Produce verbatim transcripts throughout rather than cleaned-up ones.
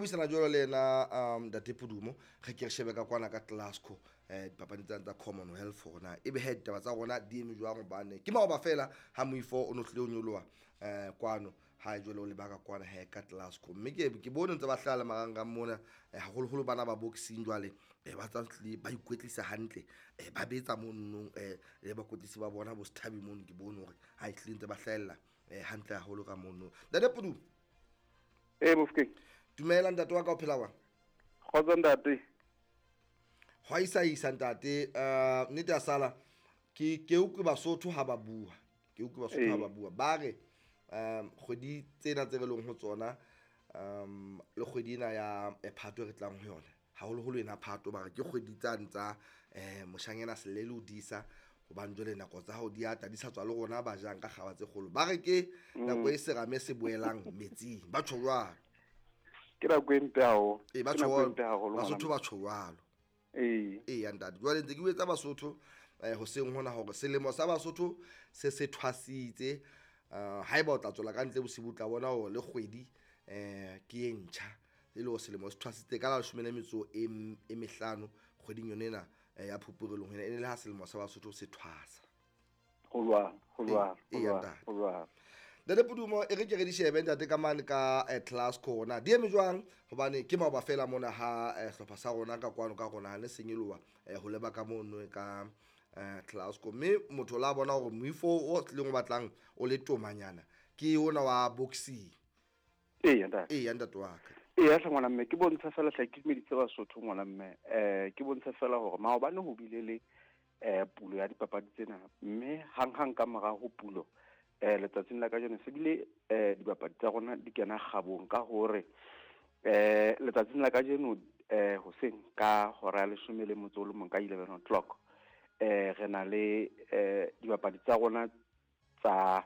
buisana jwalo le yena um Ntate Pudumo, re ke re shebe ka kwana ka Glasgow eh dipapadi tsena tsa Commonwealth hore na ebe he ditaba tsa rona di eme jwang, hobane ke maoba fela ha moifo o no tlile o nyoloha eh kwano ha jwale o lebaka kwana he ka Glasgow. Mme ke ke bone ntse ba hlaha le marangrang mona, eh, haholoholo bana ba boxing jwale eh, ba tsa tlile ba ikwetlisa hantle, eh, ba betsa mono eh le bakwetlisi ba bona bo Sethabi mono, ke bone hore ha ehlile ntse ba hlahella eh hantle haholo ka mono. Ntate Pudumo. Eh Mofokeng. Dumela ntate wa ka, o phela jwang? Kgotso ntate. Hwa isa isa ntate, eh nnete ya sala ke ke utlwe Basotho ha ba bua. Ke utlwe Basotho ha ba bua. Ba re um kgwedi tsena tse re leng ho tsona, um le kgwedi ena ya Phato re tlang ho yona, haholoholo ena Phato, ba re ke kgwedi tsane tsa eh moshanyana selele o disa, hobane jwale nako tsa hao di ata di sa tswa le rona ba jang ka kgaba tse kgolo. Ba re ke nako e serame se boelang metsing, ba tjho jwalo. Ke nako e mpe haholo. E ba Ke nako e mpe haholo, Basotho ngwana. ba tjho jwalo. Ee. Ee ya ntate, jwale ntse ke bua Basotho eh hoseng hona hore selemo sa Basotho se se thwasitse. Uh, haeba o tla tswela ka ntle bosibu o tla bona hore le kgwedi eh ke e ntjha, e le hore selemo se thwasitse ka la leshome le metso e e mehlano kgweding yone ena ya Phupu re leng ho yona, e ne le ha selemo sa Basotho se thwasa. Ho jwalo, ho jwalo, Ee, ho jwalo, ntate. ho jwalo. Ntate Pudumo, e re ke re di shebe ntate ka mane ka eh, Glasgow na di eme jwang, hobane ke maoba fela mona ha eh, hlopha sa rona ka kwano ka rona ha ne senyoloha eh, ho leba ka mono ka eh, Glasgow. Mme motho la bona hore moifo o tlileng o batlang o le tomanyana ke ona wa boxing. Ee, ntate. Ee, ntate wa ka. Ee, hle ngwana mme, ke bontsha fela hle ke dumedise Basotho ngwana mme. Eh ke bontsha fela hore maobane ho bile le eh pulo ya dipapadi tsena, mme hanghang ka mora ho pulo eh letsatsing la kajeno se bile eh dibapadi tsa rona di kena kgabong ka hore eh letsatsing la kajeno eh hoseng ka hora ya leshome le motso o le mong ka eleven o'clock eh re na le eh dibapadi tsa rona tsa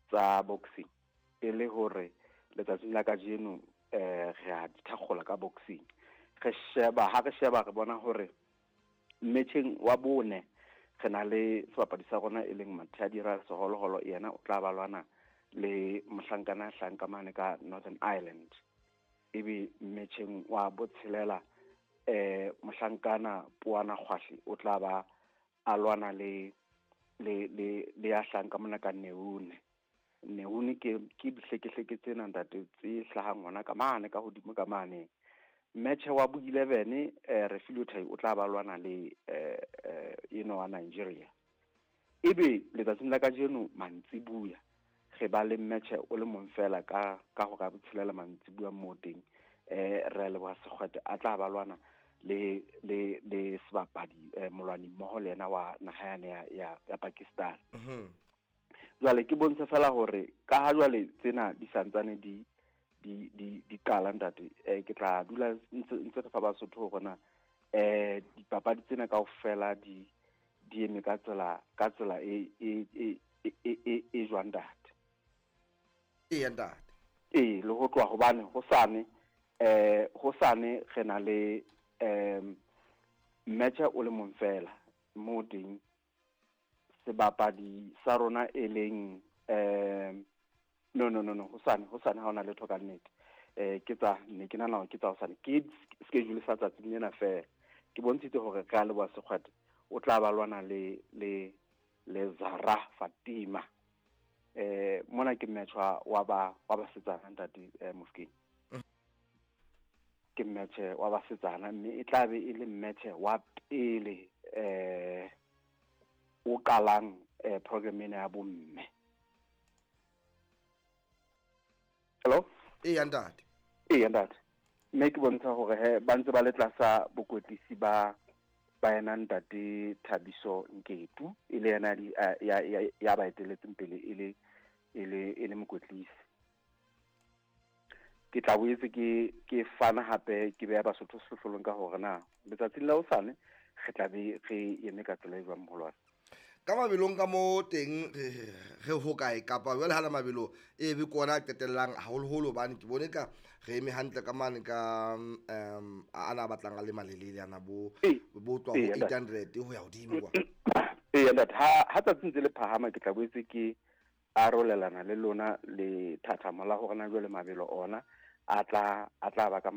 tsa boxing, e le hore letsatsing la kajeno eh re a di thakgola ka boxing. Re sheba ha re sheba re bona hore metjheng wa bone re na le sebapadi sa rona e leng Mathiadira Seholoholo, yena o tla ba lwana le mohlankana hlanka mane ka Northern Ireland. Ebe metjheng wa botshelela eh mohlankana Poana Kgwahle o tla ba a lwana le le le le ya hlanka mona ka Neune. Neune ke ke dihlekehleke tsena ntate tse hlahang hona ka mane ka hodimo ka mane. Match wa bo eleven eh Refilwe Thai o tla ba lwana le eh eh eno wa Nigeria. Ebe letsatsing la kajeno mantsibuya re ba le match o le mong fela ka ka hora botshelela mantsibuya mo teng, eh re leboha Sekgwete a tla ba lwana le le le sebapadi eh, molwani mmoho le yena wa naha yane ya, ya, ya Pakistan. Mhm. Jwale ke bontsha fela hore ka ha jwale tsena di santsane di di di di qala ntate, eh ke tla dula ntse ntse re fa Basotho hore na eh dipapadi tsena kaofela di di eme ka tsela ka tsela e e e e e e jwang ntate. Ee ntate. Ee, le ho tloha hobane hosane eh hosane re na le em match o le mong fela mo teng sebapadi sa rona e leng em no no no no hosane hosane ha ona letho ka nnete. Eh ke tsa ne ke nahana hore ke tsa hosane, ke schedule sa tsatsing lena fela. Ke bontshitse hore re a leboha Sekgwete o tla ba lwana le le le Zara Fatima. Eh mona ke match wa wa ba wa basetsana ntate eh, Mofokeng. Ke match wa basetsana mme e tla be e le match wa pele eh o qalang eh program ena ya bomme. Hello? Ee ntate. Ee ntate. Mme ke bontsha hore he ba ntse ba le tlasa bokwetlisi ba ba yena ntate Thabiso Nketu, e le yena ya ya ya ba eteletseng pele e le e le e le mokwetlisi. Ke tla boetse ke ke fana hape ke beha Basotho sehlohlolong ka hore na letsatsing la hosane re tla be re eme ka tsela e jwang moholwane. Ka mabelong ka mo teng re ho kae kapa jwale ha la mabelo e be kona qetellang haholoholo, hobane ke bone ka re eme hantle ka mane ka um ana batlang a le malelele ana bo bo tloha ho eight hundred ho ya hodimo kwa. Ee ntate, ha ha tsatsi ntse le phahama ke tla boetse ke arolelana le lona le thathamo la hore na jwale mabelo ona a tla a tla ba ka